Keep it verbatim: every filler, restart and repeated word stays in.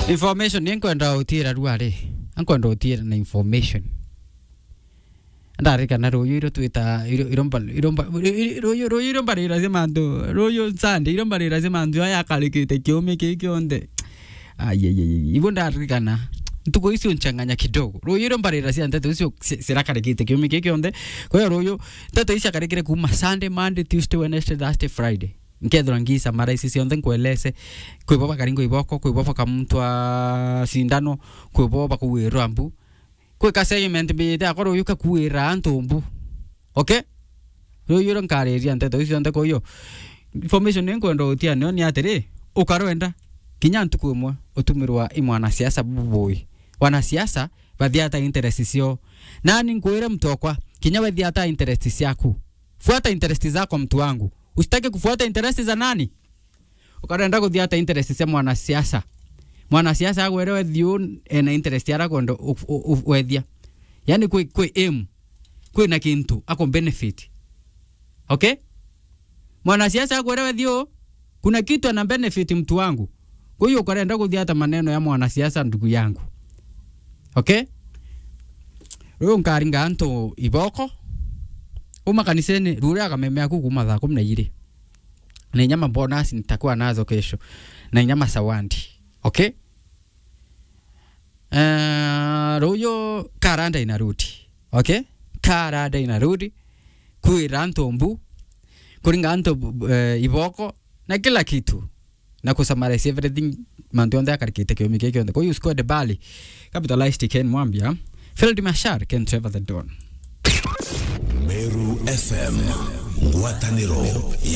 Information ni nkwenda utiira ruari. Nkwenda utiira na information. Ndarikana ruyu iro twita, iro, iro mba-, iro mba-, iro, iro, ruyu, ruyu iro mbarira cia mantu, ruyu Sunday iro mbarira cia mantu aya akarikite kiumi kii kionthe. Ai, ai, ai, ai. Igu ndarikana. Ntuku icio nchanganya kidogo. Ruyu iro mbarira cia nteto icio ci-, cirakarikite kiumi kii kionthe. Kwa hiyo ruyu, nteto icio akarikire kuma Sunday, Monday, Tuesday, Wednesday, Thursday, Friday. Nkethira ngisa mara ici cionthe nkwelese. Kwi bo bakaringwa iboko, kwi bo bakamuntwa sindano, kwi bo bakuwirwa mbu. Kwi ka segment mbijite akwa ruyu kakuwira antu mbu. Okay? Ruyu iro nkariria nteto icio cionthe kwa hiyo. Information ni nkwenda utia nio ni atiri, ukarwenda, kinya ntuku imwe utumirwa i mwanasiasa bubui. Wanasiasa bathiata interest cio. Nani nkwire mtu okwa, kinya we thiata interest ciaku. Fuata interest zako mtu wangu. Usitaki kufuata interest za nani? Ukarenda kuthiata interest cia mwanasiasa. Mwanasiasa agwere wethio ena interest ara kwenda u-, u-, u-, wethia. Yani kwi, kwi aim. Kwi na kintu ako benefit. Okay? Mwanasiasa agwere wethio, kuna kitu ana benefit mtu wangu. Kwa hiyo ukarenda kuthiata maneno ya mwanasiasa ndugu yangu. Okay? Ruyu nkaringa antu iboko. Uma kanisene, rure akameme aku kuma thaa kumi na iri. Na inya ma bonus nitakuwa nazo kesho. Na inya ma sawandi. Okay? Eh, ruyu karanda ina rudi. Okay? Karanda ina rudi. Kwira antu mbu. Kuringa antu, eh, iboko. Na kila kitu. Na kusummarize everything, mantu onthe akarikite kiumi kii kionthe. Kwa hiyo squad Bali, Capitalist Ken Mwambia, Field Mashar, Ken Trevor the Don. Meru F M, ngwataniro